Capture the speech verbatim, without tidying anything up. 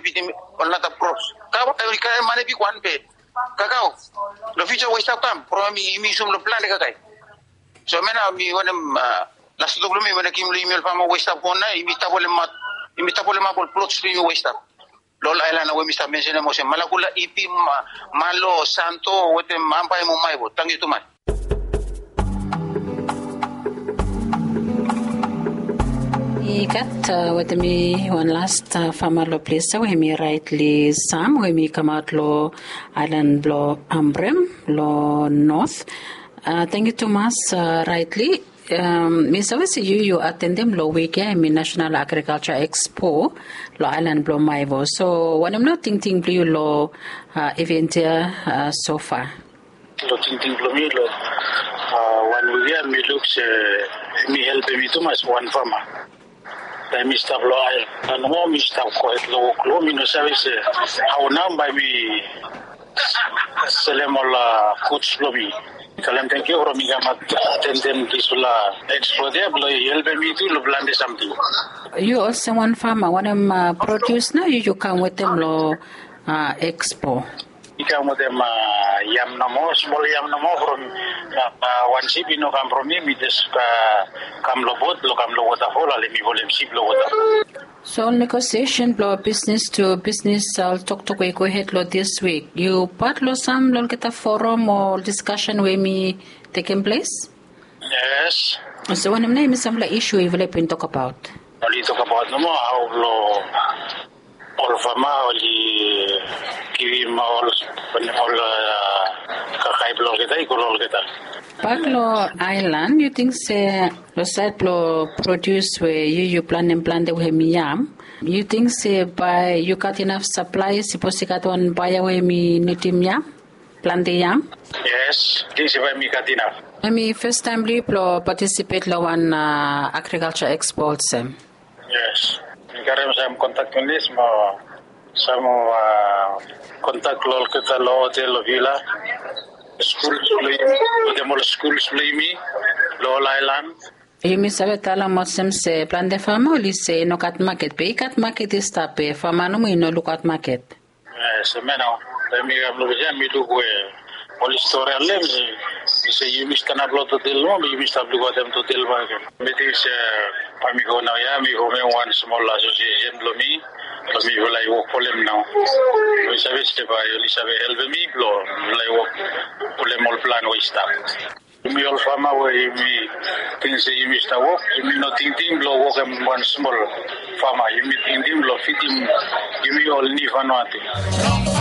Fidim ol nata props. Kakae, kakae mane bigwan be kakao. Long fiuja we i stap kam from yumi, yumi yusum long plante kakae. So hemia nao mi wantem las tok blong mi wantem givim long yumi ol fama we i stap go nao, yumi stap holemap, yumi stap holemap ol plots blong yumi we i stap long ol aelan we mi stap mensenem olsem Malakula, Ipi, Malo, Santo wetem Ambae mo Maevo. Tangkiu tumas. I gat wetem mi wan las fama long ples ya we hemi Raetli Sam we hemi kamaot long aelan blong Ambrem long not. Tangkiu tumas Raetli. Mi save se yu yu atendem long wik ya hemi National Agriculture Expo long aelan blong Maevo. So wanem nao tingting blong yu long iven ya sofa? Long tingting blong mi long wan wik ya mi luk se hemi helpem mi tumas wan fama. Taem mi stap long aelan nomo, mi stap gohed long wok long, mi no save se hao nao bae mi selem ol guds blong mi. Talem tangkiu from mi kam atendem disfala ekspos ya blong i helpem mi tu long plante samting. Yu olsem wan fama, wanem produs nao yu yu kam wetem long ekspo? Mi kam wetem yam nomo, smol yam nomo from wan sip i no kam from mi, mi jes kam long bot blong kam long wotafol, ale mi folem sip long wotafol. So ol negosiesen blong bisnis tu bisnis, ol toktok we i gohed long dis wik, yu pat long sam long olgeta forum o diskasen we hemi tekem ples? Yes. So wanem nao hemi samfala isu yufala i bin tokbaot? Oli tokbaot nomo hao blong ol fama oli givim ol, ol kakae blong olgeta i go long olgeta. Bak long aelan, yu ting se long saed blong produs we yu yu plantem plante we hemi yam, yu ting se bae yu gat inaf saplae sipos i gat wan baea we hemi nidim yam, plante yam? Yes, ting se bae mi gat inaf. Hemi fastaem blong yu blong patisipet long wan agrikalja ekspo olsem? Yes. Mi karem sam kontak blong yumi, mo sam kontak long olgeta long hotel long vila, skul blong yumi, wetem ol skul blong yumi long ol aelan. Yumi save talem olsem se plante fama oli se i no gat maket, be i gat maket i stap, be fama nomo i no lukaot maket. Yes, hemia nao. Taem mi kam long ples ya mi luk we oli stori long hem se, i se yumi stanap long totel nomo, be yumi stap lukaotem totel bakegen. Mi ting se bae mi go nao ya mi fomem wan smol asosiesen blong mi, blong mifala i wok folem nao. Mi save se bae oli save helpem mi blong mifala i wok folem ol plan we i stap. Yumi ol fama we yumi ting se yumi stap wok, yumi no tingting blong wokem wan smol fama, yumi tingting blong fidim yumi ol nid Vanuatu.